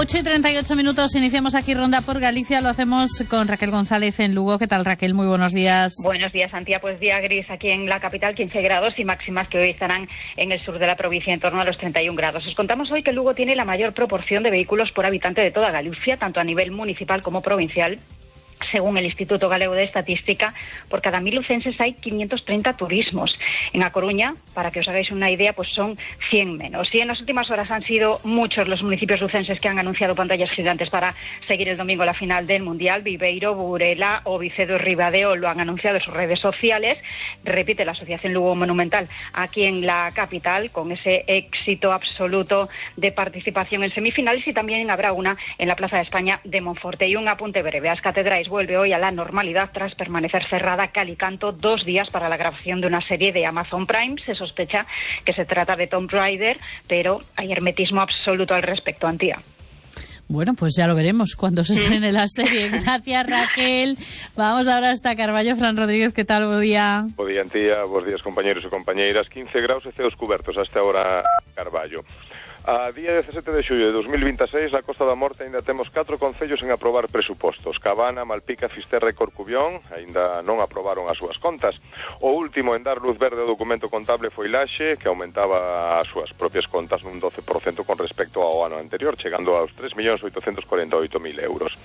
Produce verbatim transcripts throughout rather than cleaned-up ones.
ocho y treinta y ocho minutos, iniciamos aquí Ronda por Galicia, lo hacemos con Raquel González en Lugo. ¿Qué tal, Raquel? Muy buenos días. Buenos días, Antía. Pues día gris aquí en la capital, quince grados y máximas que hoy estarán en el sur de la provincia en torno a los treinta y un grados. Os contamos hoy que Lugo tiene la mayor proporción de vehículos por habitante de toda Galicia, tanto a nivel municipal como provincial. Según el Instituto Galego de Estadística, por cada mil lucenses hay quinientos treinta turismos. En A Coruña, para que os hagáis una idea, pues son cien menos. Y en las últimas horas han sido muchos los municipios lucenses que han anunciado pantallas gigantes para seguir el domingo la final del Mundial. Viveiro, Burela o Vicedo y Ribadeo lo han anunciado en sus redes sociales. Repite la Asociación Lugo Monumental aquí en la capital, con ese éxito absoluto de participación en semifinales, y también habrá una en la Plaza de España de Monforte. Y un apunte breve: As Catedrais vuelve hoy a la normalidad tras permanecer cerrada cal y canto dos días para la grabación de una serie de Amazon Prime. Se sospecha que se trata de Tomb Raider, pero hay hermetismo absoluto al respecto, Antía. Bueno, pues ya lo veremos cuando se estrene la serie. Gracias, Raquel. Vamos ahora hasta Carballo. Fran Rodríguez, ¿qué tal? Buen día. Buen día, Antía. Buenos días, compañeros e compañeiras. quince graus e ceos cubertos hasta ahora Carballo. A día dezasete de xullo de dos mil veintiséis, na Costa da Morte ainda temos catro concellos en aprobar presupostos. Cabana, Malpica, Fisterra e Corcubión aínda non aprobaron as súas contas. O último en dar luz verde ao documento contable foi Laxe, que aumentaba as súas propias contas nun doce por cento con respecto ao ano anterior, chegando aos tres millóns oitocentos corenta e oito mil euros.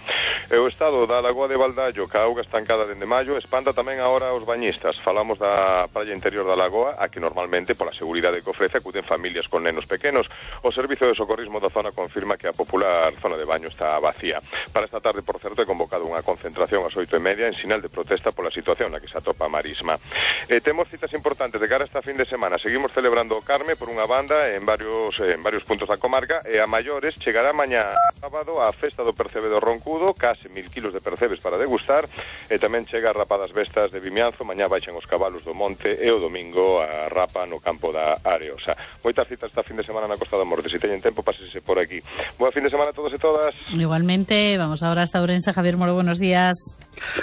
E o estado da Lagoa de Baldallo, ca auga estancada dende maio, espanta tamén agora os bañistas. Falamos da praia interior da Lagoa, a que normalmente, pola seguridade que ofrece, acuden familias con nenos pequenos. O Servicio de Socorrismo da zona confirma que a popular zona de baño está vacía. Para esta tarde, por certo, é convocado unha concentración ás oito e media en sinal de protesta pola situación na que se atopa a Marisma. Eh, temos citas importantes de cara a esta fin de semana. Seguimos celebrando o Carme por unha banda en varios en varios puntos da comarca, e a maiores chegará mañá sábado a festa do percebe do Roncudo, case mil kilos de percebes para degustar, e tamén chega a rapa das Vestas de Vimianzo. Mañá baixan os cabalos do monte e o domingo a rapa no campo da Areosa. Moitas citas esta fin de semana na Costa da Morte. Si teñen tempo, pásese por aquí. Buen fin de semana a todos e todas. Igualmente, vamos ahora hasta Ourense. Javier Moro, buenos días.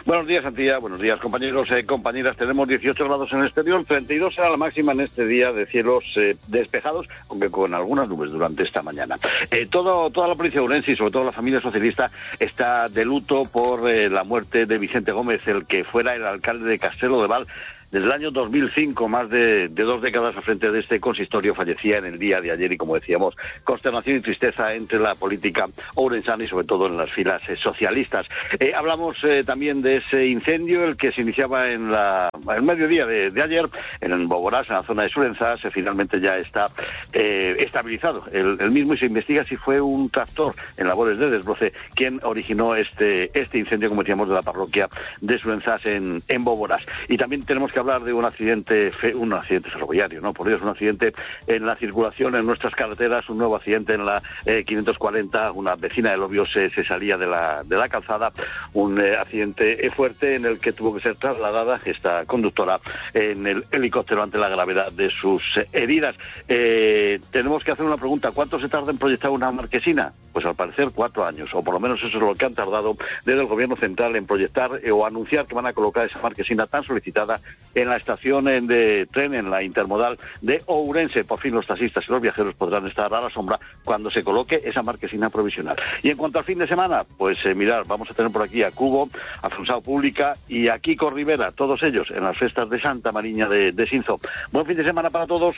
Buenos días, Antía. Buenos días, compañeros y eh, compañeras. Tenemos dieciocho grados en el exterior, treinta y dos será la máxima en este día de cielos eh, despejados, aunque con algunas nubes durante esta mañana. Eh, todo, toda la provincia de Ourense y sobre todo la familia socialista está de luto por eh, la muerte de Vicente Gómez, el que fuera el alcalde de Castelo de Val. Desde el año dos mil cinco, más de, de dos décadas al frente de este consistorio, fallecía en el día de ayer, y como decíamos, consternación y tristeza entre la política ourensana y sobre todo en las filas eh, socialistas. Eh, hablamos eh, también de ese incendio, el que se iniciaba en la, el mediodía de, de ayer, en Boborás, en la zona de Surenzás. Eh, finalmente ya está eh, estabilizado el, el mismo, y se investiga si fue un tractor en labores de desbroce quien originó este, este incendio, como decíamos, de la parroquia de Surenzás en, en Boborás. Y también tenemos que hablar de un accidente fe, un accidente ferroviario, ¿no? Por Dios, un accidente en la circulación en nuestras carreteras, un nuevo accidente en la eh, quinientos cuarenta, una vecina de Lobios se, se salía de la, de la calzada, un eh, accidente fuerte en el que tuvo que ser trasladada esta conductora en el helicóptero ante la gravedad de sus eh, heridas. Eh, tenemos que hacer una pregunta: ¿cuánto se tarda en proyectar una marquesina? Pues al parecer cuatro años, o por lo menos eso es lo que han tardado desde el gobierno central en proyectar eh, o anunciar que van a colocar esa marquesina tan solicitada en la estación de tren, en la intermodal de Ourense. Por fin los taxistas y los viajeros podrán estar a la sombra cuando se coloque esa marquesina provisional. Y en cuanto al fin de semana, pues eh, mirar, vamos a tener por aquí a Cubo, a Funsao Pública y a Kiko Rivera, todos ellos en las fiestas de Santa Mariña de, de Sinzo. Buen fin de semana para todos.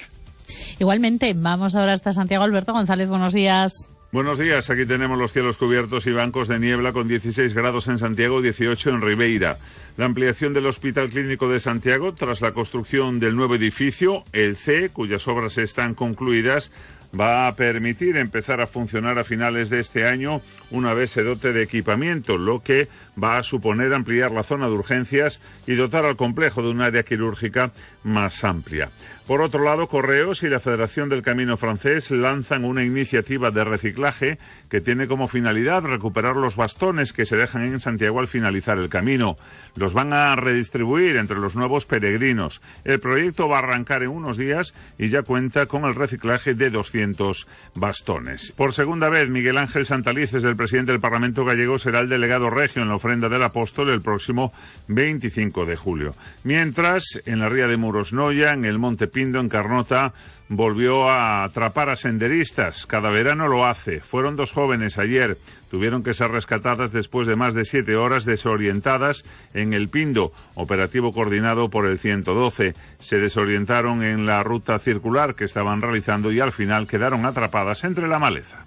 Igualmente, vamos ahora hasta Santiago. Alberto González, buenos días. Buenos días, aquí tenemos los cielos cubiertos y bancos de niebla con dieciséis grados en Santiago, dieciocho en Ribeira. La ampliación del Hospital Clínico de Santiago tras la construcción del nuevo edificio, el C, cuyas obras están concluidas, va a permitir empezar a funcionar a finales de este año una vez se dote de equipamiento, lo que va a suponer ampliar la zona de urgencias y dotar al complejo de un área quirúrgica más amplia. Por otro lado, Correos y la Federación del Camino Francés lanzan una iniciativa de reciclaje que tiene como finalidad recuperar los bastones que se dejan en Santiago al finalizar el camino. Los van a redistribuir entre los nuevos peregrinos. El proyecto va a arrancar en unos días y ya cuenta con el reciclaje de doscientos bastones. Por segunda vez, Miguel Ángel Santalices, el presidente del Parlamento gallego, será el delegado regio en la ofrenda del Apóstol el próximo veinticinco de julio. Mientras, en la ría de Murosnoia, en el Monte Pindo, en Carnota, volvió a atrapar a senderistas. Cada verano lo hace. Fueron dos jóvenes ayer. Tuvieron que ser rescatadas después de más de siete horas desorientadas en El Pindo, operativo coordinado por el ciento doce. Se desorientaron en la ruta circular que estaban realizando y al final quedaron atrapadas entre la maleza.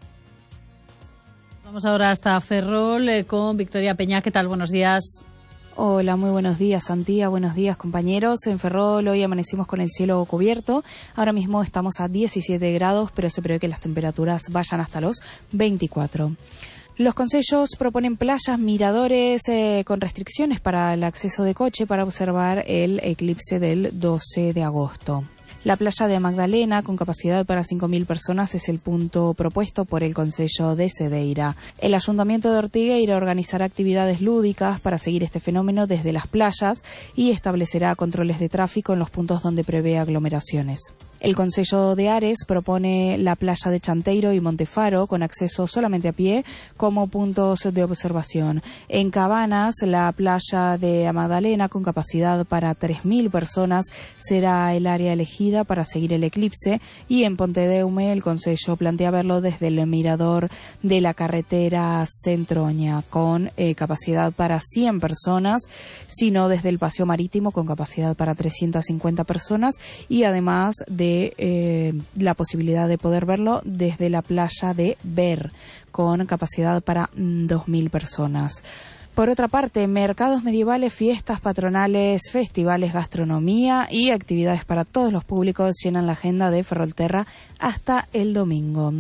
Vamos ahora hasta Ferrol eh, con Victoria Peña. ¿Qué tal? Buenos días. Hola, muy buenos días, Santía. Buenos días, compañeros. En Ferrol hoy amanecimos con el cielo cubierto. Ahora mismo estamos a diecisiete grados, pero se prevé que las temperaturas vayan hasta los veinticuatro. Los concellos proponen playas, miradores eh, con restricciones para el acceso de coche para observar el eclipse del doce de agosto. La playa de Magdalena, con capacidad para cinco mil personas, es el punto propuesto por el Concello de Cedeira. El Ayuntamiento de Ortigueira organizará actividades lúdicas para seguir este fenómeno desde las playas y establecerá controles de tráfico en los puntos donde prevé aglomeraciones. El Concello de Ares propone la playa de Chanteiro y Montefaro, con acceso solamente a pie, como puntos de observación. En Cabanas, la playa de Magdalena, con capacidad para tres mil personas, será el área elegida para seguir el eclipse. Y en Pontedeume, el Concello plantea verlo desde el mirador de la carretera Centroña, con eh, capacidad para cien personas, sino desde el Paseo Marítimo, con capacidad para trescientas cincuenta personas, y además de Eh, la posibilidad de poder verlo desde la playa de Ver, con capacidad para mm, dos mil personas. Por otra parte, mercados medievales, fiestas patronales, festivales, gastronomía y actividades para todos los públicos llenan la agenda de Ferrolterra hasta el domingo.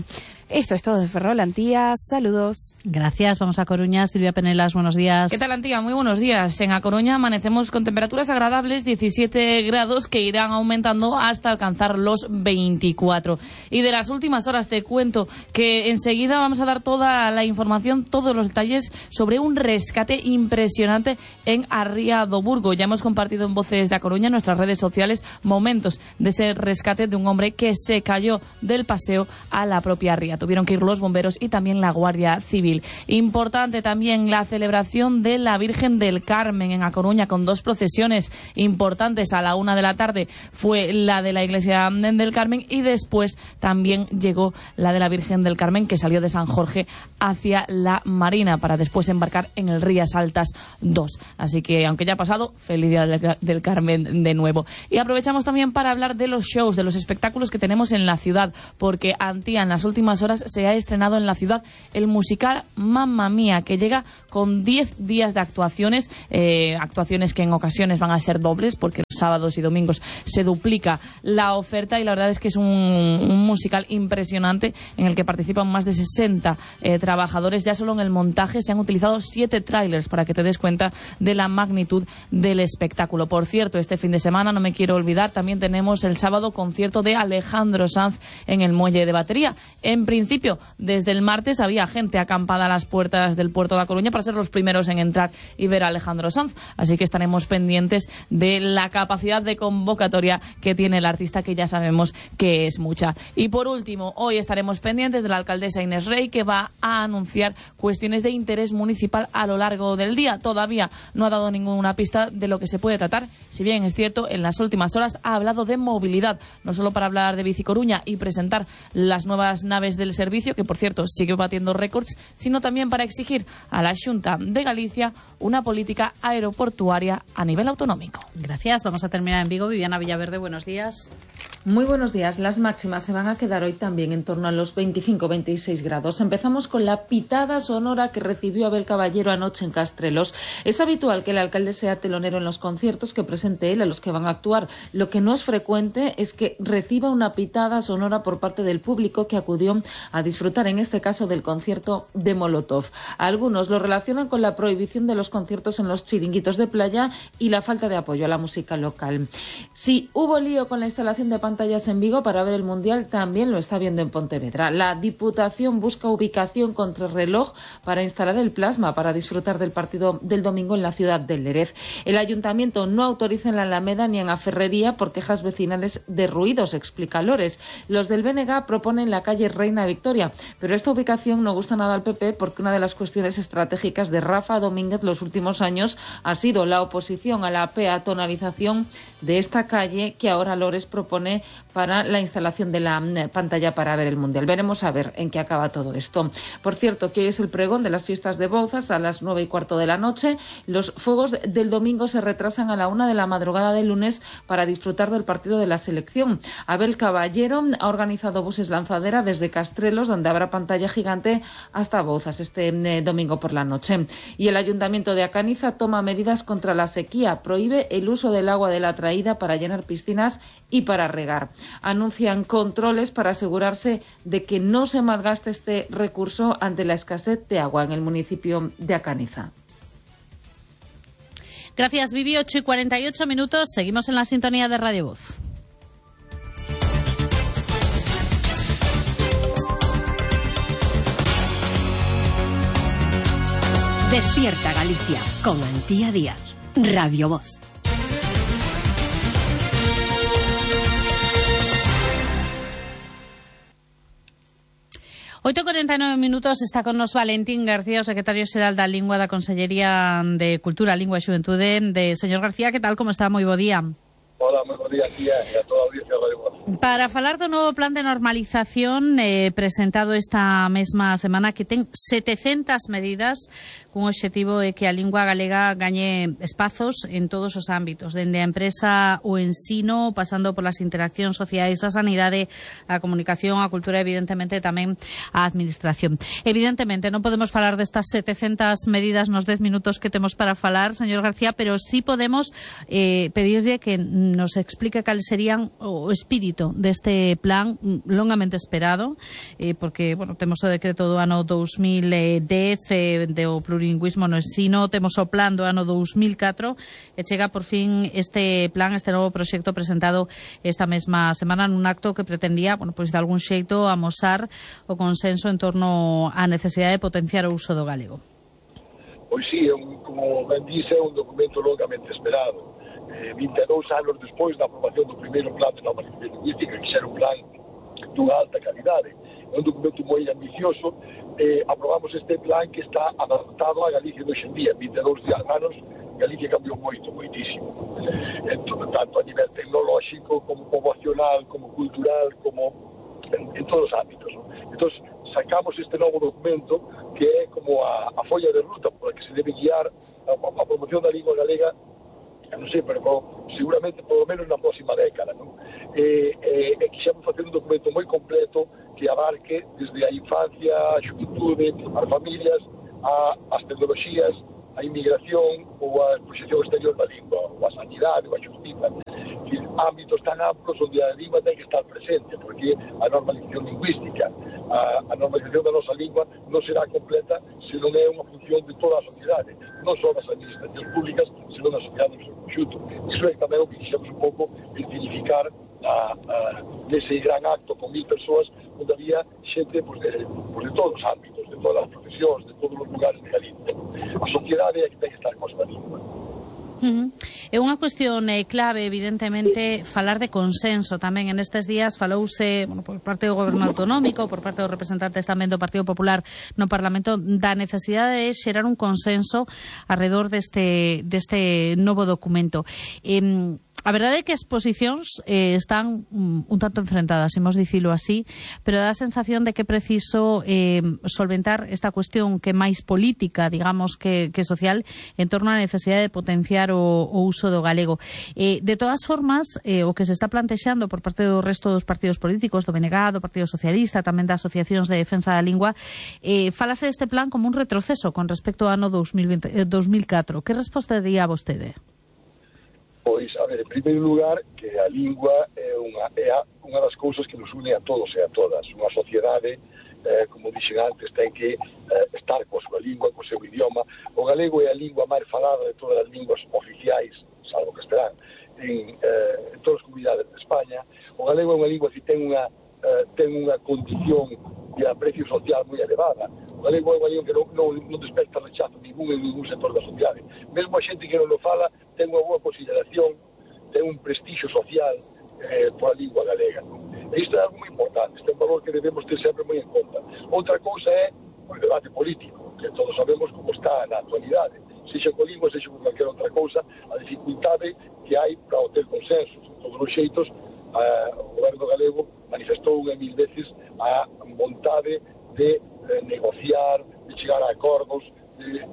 Esto es todo de Ferrol, Antía. Saludos. Gracias. Vamos a Coruña. Silvia Penelas, buenos días. ¿Qué tal, Antía? Muy buenos días. En A Coruña amanecemos con temperaturas agradables, diecisiete grados, que irán aumentando hasta alcanzar los veinticuatro. Y de las últimas horas te cuento que enseguida vamos a dar toda la información, todos los detalles sobre un rescate impresionante en Arría do Burgo. Ya hemos compartido en Voces de A Coruña, en nuestras redes sociales, momentos de ese rescate de un hombre que se cayó del paseo a la propia ría. Tuvieron que ir los bomberos y también la Guardia Civil. Importante también la celebración de la Virgen del Carmen en A Coruña, con dos procesiones importantes. A la una de la tarde fue la de la Iglesia del Carmen y después también llegó la de la Virgen del Carmen, que salió de San Jorge hacia la Marina para después embarcar en el Rías Altas dos. Así que, aunque ya ha pasado, feliz Día del Carmen de nuevo. Y aprovechamos también para hablar de los shows, de los espectáculos que tenemos en la ciudad, porque, Antía, en las últimas horas se ha estrenado en la ciudad el musical Mamma Mía, que llega con diez días de actuaciones, eh, actuaciones que en ocasiones van a ser dobles, porque los sábados y domingos se duplica la oferta, y la verdad es que es un, un musical impresionante en el que participan más de sesenta eh, trabajadores. Ya solo en el montaje se han utilizado siete trailers para que te des cuenta de la magnitud del espectáculo. Por cierto, este fin de semana, no me quiero olvidar, también tenemos el sábado concierto de Alejandro Sanz en el Muelle de Batería. En principio, desde el martes había gente acampada a las puertas del puerto de A Coruña para ser los primeros en entrar y ver a Alejandro Sanz. Así que estaremos pendientes de la capacidad de convocatoria que tiene el artista, que ya sabemos que es mucha. Y por último, hoy estaremos pendientes de la alcaldesa Inés Rey, que va a anunciar cuestiones de interés municipal a lo largo del día. Todavía no ha dado ninguna pista de lo que se puede tratar. Si bien es cierto, en las últimas horas ha hablado de movilidad, no solo para hablar de Bici Coruña y presentar las nuevas naves del servicio, que por cierto sigue batiendo récords, sino también para exigir a la Xunta de Galicia una política aeroportuaria a nivel autonómico. Gracias. Vamos a terminar en Vigo. Viviana Villaverde, buenos días. Muy buenos días. Las máximas se van a quedar hoy también en torno a los veinticinco a veintiséis grados. Empezamos con la pitada sonora que recibió Abel Caballero anoche en Castrelos. Es habitual que el alcalde sea telonero en los conciertos que presente él a los que van a actuar. Lo que no es frecuente es que reciba una pitada sonora por parte del público que acudió a disfrutar, en este caso, del concierto de Molotov. Algunos lo relacionan con la prohibición de los conciertos en los chiringuitos de playa y la falta de apoyo a la música local. Si hubo lío con la instalación de pantallas en Vigo para ver el Mundial, también lo está viendo en Pontevedra. La Diputación busca ubicación contrarreloj para instalar el plasma para disfrutar del partido del domingo en la ciudad de Lérez. El Ayuntamiento no autoriza en la Alameda ni en la Ferrería por quejas vecinales de ruidos, explica Lores. Los del B N G proponen la calle Reina Victoria, pero esta ubicación no gusta nada al P P, porque una de las cuestiones estratégicas de Rafa Domínguez los últimos años ha sido la oposición a la peatonalización de esta calle, que ahora Lores propone para la instalación de la pantalla para ver el Mundial. Veremos a ver en qué acaba todo esto. Por cierto, que hoy es el pregón de las fiestas de Bouzas a las nueve y cuarto de la noche. Los fuegos del domingo se retrasan a la una de la madrugada del lunes para disfrutar del partido de la selección. Abel Caballero ha organizado buses lanzadera desde Castrelos, donde habrá pantalla gigante, hasta Bouzas este eh, domingo por la noche. Y el Ayuntamiento de Acaniza toma medidas contra la sequía. Prohíbe el uso del agua de la traída para llenar piscinas y para regar. Anuncian controles para asegurarse de que no se malgaste este recurso ante la escasez de agua en el municipio de Acaniza. Gracias, Vivi. ocho y cuarenta y ocho minutos. Seguimos en la sintonía de Radio Voz. Despierta Galicia con Antía Díaz. Radio Voz. oito e cuarenta e nove minutos, está con nos Valentín García, o secretario xeral da Lingua da Consellería de Cultura, Lingua e Xuventude. De señor García, que tal, como está? Moi bo día. Hola, moi bo día, tía, e a toda a audiencia de Radio Voz. Para falar do novo plan de normalización eh, presentado esta mesma semana, que ten setecentas medidas, cun obxectivo é que a lingua galega gañe espazos en todos os ámbitos, dende a empresa, o ensino, pasando por las interaccións sociais, a sanidade, a comunicación, a cultura, evidentemente tamén a administración. Evidentemente non podemos falar destas setecentas medidas nos dez minutos que temos para falar, señor García, pero sí podemos eh, pedirlle que nos explique cal serían o espírito deste plan longamente esperado, eh, porque, bueno, temos o decreto do ano dos mil dez eh, do plurilingüismo no ensino, temos o plan do ano dos mil catro e chega por fin este plan, este novo proxecto presentado esta mesma semana nun acto que pretendía, bueno, pois de algún xeito amosar o consenso en torno á necesidade de potenciar o uso do galego. Pois sí, é un, como ben dice, é un documento longamente esperado. Eh, vinte e dous anos despois da aprobación do primeiro plan de normalización lingüística, que xa era un plan dunha alta calidade. É un documento moi ambicioso. Eh, aprobamos este plan que está adaptado a Galicia de hoxendía. En vinte e dous anos Galicia cambiou moito, moitísimo. Entón, tanto a nivel tecnolóxico, como poboacional, como cultural, como en, en todos os ámbitos. ¿No? Entón, sacamos este novo documento que é como a, a folla de ruta por la que se debe guiar a, a promoción da lingua galega, non sei, pero seguramente polo menos na próxima década, non? E, e, e quixemos facer un documento moi completo que abarque desde a infancia, a xuventude, as familias, a, as tecnoloxías, a inmigración ou a proxección exterior da lingua, ou a sanidade, ou a justiza, que ámbitos tan amplos onde a lingua ten que estar presente, porque a normalización lingüística, a, a normalización da nosa lingua non será completa se non é unha función de toda a sociedade, non só das administracións públicas, senón da sociedade no seu conxunto. Iso é tamén o que quixemos un pouco significar a, a, nese gran acto con mil persoas onde había xente pues, de, pues, de todos os ámbitos, de todas as profesións, de todos os lugares de Galicia. A sociedade é que ten que estar con a lingua. Uh-huh. É unha cuestión eh, clave, evidentemente, falar de consenso tamén. En estes días falouse, bueno, por parte do Goberno Autonómico, por parte dos representantes tamén do Partido Popular no Parlamento, da necesidade de xerar un consenso alrededor deste, deste novo documento. Eh, A verdade é que as posicións eh, están um, un tanto enfrentadas, imos dicilo así, pero dá a sensación de que é preciso eh, solventar esta cuestión que é máis política, digamos, que, que social, en torno á necesidade de potenciar o, o uso do galego. Eh, de todas formas, eh, o que se está plantexando por parte do resto dos partidos políticos, do B N G, do Partido Socialista, tamén das asociacións de defensa da lingua, eh, falase deste plan como un retroceso con respecto ao ano dos mil veinte, eh, dos mil catro. Que resposta daría a vostede? Pois, a ver, en primeiro lugar, que a lingua é unha, é a, unha das cousas que nos une a todos e a todas. Unha sociedade, eh, como dixen antes, ten que eh, estar coa súa lingua, co seu idioma. O galego é a lingua máis falada de todas as linguas oficiais, salvo que estarán, en, eh, en todas as comunidades de España. O galego é unha lingua que ten unha, eh, ten unha condición de aprecio social moi elevada. O galego é unha lingua que non, non, non despecta rechazo ningún en ningún sector da sociedade. Mesmo a xente que non lo fala ten unha boa consideración, ten un prestixio social eh, pola lingua galega. Non? E isto é algo moi importante, este é un valor que debemos ter sempre moi en conta. Outra cousa é o debate político, que todos sabemos como está na actualidade. Sexa con lingua, sexa con calquera outra cousa, a dificultade que hai para obter consensos. De todos os xeitos, a, o goberno galego manifestou unha mil veces a vontade de eh, negociar, de chegar a acordos, de,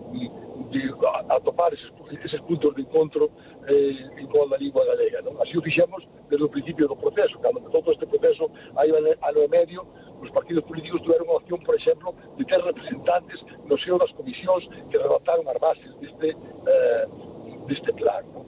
de atopar eses, eses puntos de encontro eh, en toda a lingua galega, non? Así o fixemos desde o principio do proceso. Cando empezou todo este proceso, hai ano e medio, os partidos políticos tiveron unha opción, por exemplo, de ter representantes no seo das comisións que redactaron as bases deste, eh, deste plan, non?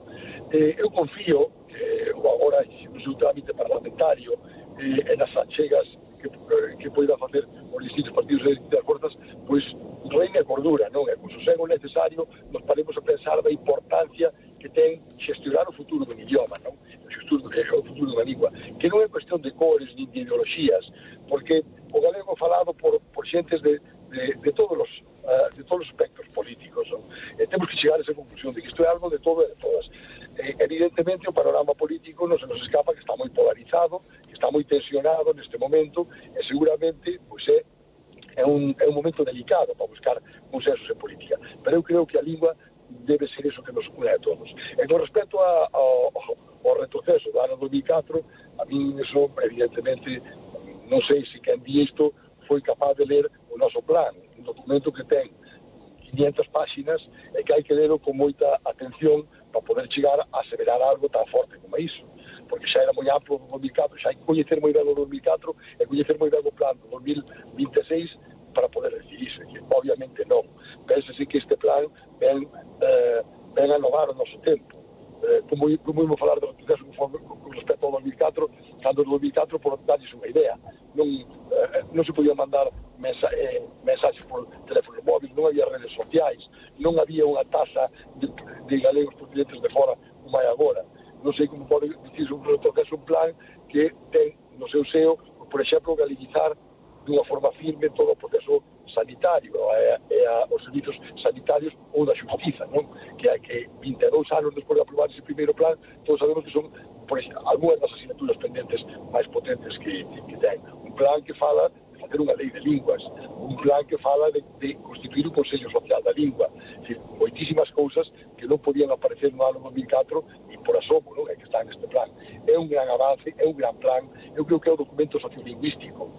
Eh, eu confío que agora no seu trámite parlamentario eh, e nas achegas que, que poida facer os distintos partidos e distintas forzas, pois reina a cordura, non? E con sosego necesario nos paremos a pensar da importancia que ten xestionar o futuro dun idioma, non? O futuro da lingua, que non é cuestión de cores ni de ideoloxías, porque o galego falado por, por xentes de, de, de todos os uh, de todos os aspectos políticos, non? E temos que chegar a esa conclusión de que isto é algo de todo e de todas. Eh, evidentemente o panorama político non se nos escapa que está moi polarizado, que está moi tensionado neste momento, e seguramente pois é é un, é un momento delicado para buscar consensos en política, pero eu creo que a lingua debe ser eso que nos une a todos. E con respecto a, a, ao retroceso do ano dos mil catro, a mí eso, evidentemente, non sei se quen di isto foi capaz de ler o noso plan, un documento que ten quinientas páxinas e que hai que lerlo con moita atención para poder chegar a aseverar algo tan forte como iso, porque xa era moi amplo do dos mil catro, xa hai que coñecer moi ben o dos mil catro e coñecer moi ben o plan do dos mil vinte e seis para poder decir iso, que obviamente non. Pénsese que este plan ven, eh, ven a inovar o noso tempo. Eh, como, como íamos falar do proceso con, con respecto ao dos mil catro, cando no dos mil catro, por darles unha idea, non, eh, non se podía mandar mensa, eh, mensaxes por teléfono móvil, non había redes sociais, non había unha taxa de, de galegos procedentes de fora como hai agora. Non sei como pode dicir un retroceso, un plan que ten no seu seo, por exemplo, galeguizar dunha forma firme todo o proceso sanitario e, e a, os servizos sanitarios ou da xustiza, non? Que, que vinte e dous anos despois de aprobar ese primeiro plan, todos sabemos que son por exemplo, algunhas das asignaturas pendentes máis potentes que, que ten. Un plan que fala de facer unha lei de linguas, un plan que fala de, de constituir un Consello Social da Lingua, é dicir, moitísimas cousas que non podían aparecer no ano dos mil catro e por asomo, non? É que está neste plan. É un gran avance, é un gran plan, eu creo que é o documento sociolingüístico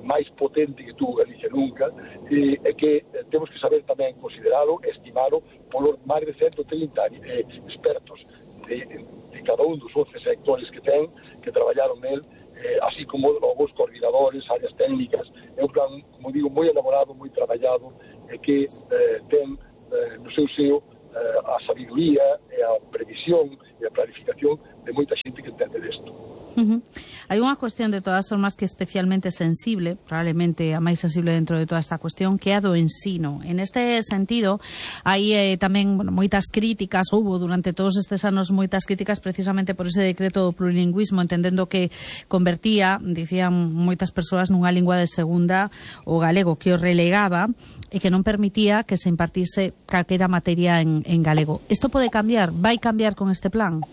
máis potente que tuvo Galicia nunca, e, e que eh, temos que saber tamén consideralo, estimalo polos máis de ciento trinta eh, expertos de, de cada un dos once sectores que ten, que traballaron nel, eh, así como os coordinadores, áreas técnicas. É un plan, como digo, moi elaborado, moi traballado, e que eh, ten eh, no seu seo eh, a sabiduría e a previsión e a planificación de moita xente que entende desto. Uh-huh. Hai unha cuestión de todas formas que é especialmente sensible, probablemente a máis sensible dentro de toda esta cuestión, que é a do ensino. En este sentido, hai eh, tamén bueno, moitas críticas, houve durante todos estes anos moitas críticas precisamente por ese decreto do plurilingüismo, entendendo que convertía, dicían moitas persoas, nunha lingua de segunda o galego, que o relegaba e que non permitía que se impartise calquera materia en, en galego. Isto pode cambiar? Vai cambiar con este plan?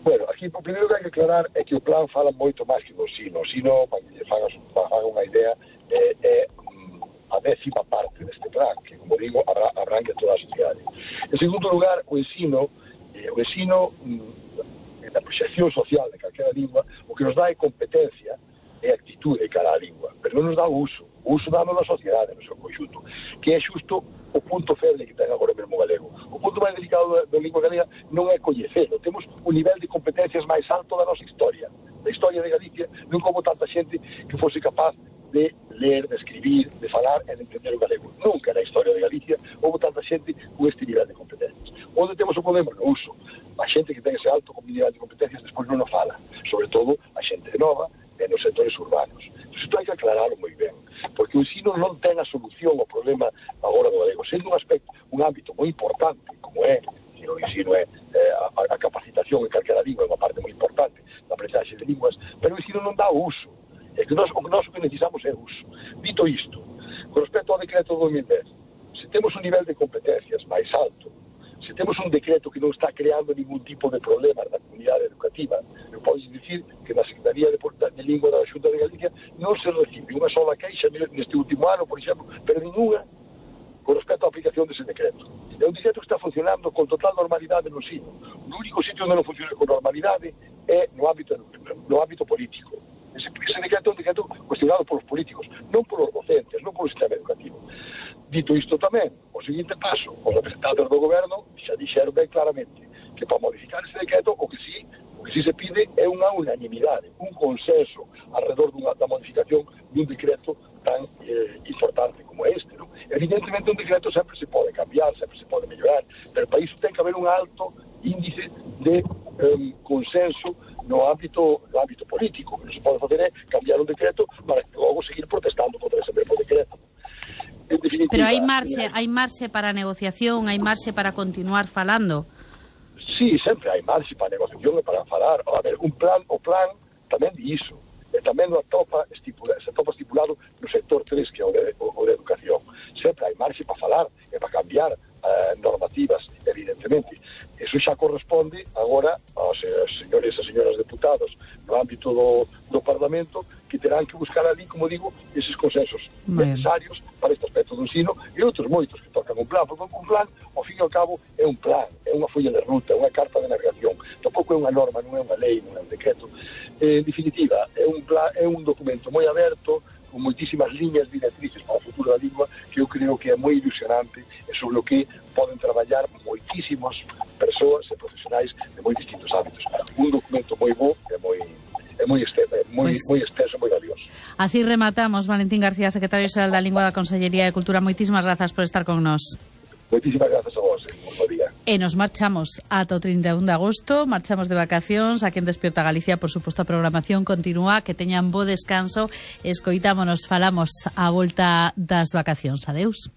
Bueno, aquí o primeiro que hai que aclarar é que o plan fala moito máis que do sino. O sino, para que lle fagas, faga unha idea, é, é a décima parte deste plan, que, como digo, abrangue toda a sociedade. En segundo lugar, o ensino, eh, o ensino, mm, na proxección social de calquera lingua, o que nos dá é competencia e actitude cara a lingua, pero non nos dá o uso. O uso dá na sociedade, no seu conxunto, que é xusto o punto feble que ten agora mesmo o galego. O punto máis delicado da, da lingua galega non é coñecelo. Temos un nivel de competencias máis alto da nosa historia. Da historia de Galicia non como tanta xente que fose capaz de ler, de escribir, de falar e de entender o galego. Nunca na historia de Galicia houve tanta xente con este nivel de competencias. Onde temos o problema? No uso. A xente que ten ese alto nivel de competencias despois non o fala. Sobre todo a xente nova e nos sectores urbanos. Entón, isto hai que aclararlo moi ben, porque o ensino non ten a solución ao problema agora do galego, sendo un aspecto, un ámbito moi importante, como é, que o ensino é eh, a, a capacitación en calquera lingua, é unha parte moi importante da aprendizaxe de linguas, pero o ensino non dá o uso. É que nós, o que nós que necesitamos é o uso. Dito isto, con respecto ao decreto do dos mil dez, se temos un nivel de competencias máis alto, se temos un decreto que non está creando ningún tipo de problema na comunidade educativa, eu podo dicir que na Secretaría de, de Lingua da Xunta de Galicia non se recibe unha sola queixa neste último ano, por exemplo, pero ninguna con respecto canto a aplicación dese decreto. É un decreto que está funcionando con total normalidade no ensino. O único sitio onde non funciona con normalidade é no ámbito, no ámbito político. Ese, ese decreto é un decreto cuestionado polos políticos, non polos docentes, non polo sistema educativo. Dito isto tamén, o seguinte paso, os representantes do goberno xa dixeron ben claramente que para modificar ese decreto o que sí, o que sí se pide é unha unanimidade, un consenso alrededor dunha, da modificación dun decreto tan eh, importante como este, ¿no? Evidentemente un decreto sempre se pode cambiar, sempre se pode mellorar, pero para iso ten que haber un alto índice de eh, consenso no ámbito, no ámbito político. O que non se pode fazer é cambiar un decreto para logo seguir protestando contra ese mesmo decreto. En definitiva, pero hai marxe, hai marxe para a negociación, hai marxe para continuar falando. Sí, sempre hai marxe para a negociación e para falar. A ver, un plan, o plan tamén di iso. E tamén o atopa estipula, se atopa estipulado no sector tres, que é o de, o, o de educación. Sempre hai marxe para falar e para cambiar eh, normativas, evidentemente. Eso xa corresponde agora aos eh, señores e señoras deputados no ámbito do, do Parlamento, que terán que buscar ali, como digo, eses consensos bueno. necesarios para este aspecto do ensino e outros moitos que tocan un plan, porque un plan, ao fin e ao cabo, é un plan, é unha folla de ruta, é unha carta de navegación, tampouco é unha norma, non é unha lei, non é un decreto. Eh, en definitiva, é un plan, é un documento moi aberto, con moitísimas liñas directrices para o futuro da lingua, que eu creo que é moi ilusionante e sobre o que poden traballar moitísimas persoas e profesionais de moi distintos ámbitos. Un documento moi bo e moi é moi extenso, é moi, pues, moi extenso, moi valioso. Así rematamos. Valentín García, secretario xeral da Lingua da Consellería de Cultura, moitísimas grazas por estar con nós. Moitísimas grazas a vos, moi bo día. E nos marchamos ata o trinta e un de agosto, marchamos de vacacións, aquí en Despierta Galicia, por suposto a programación continúa, que teñan bo descanso, escoitámonos, falamos a volta das vacacións. Adeus.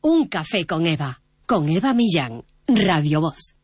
Un café con Eva, con Eva Millán, Radio Voz.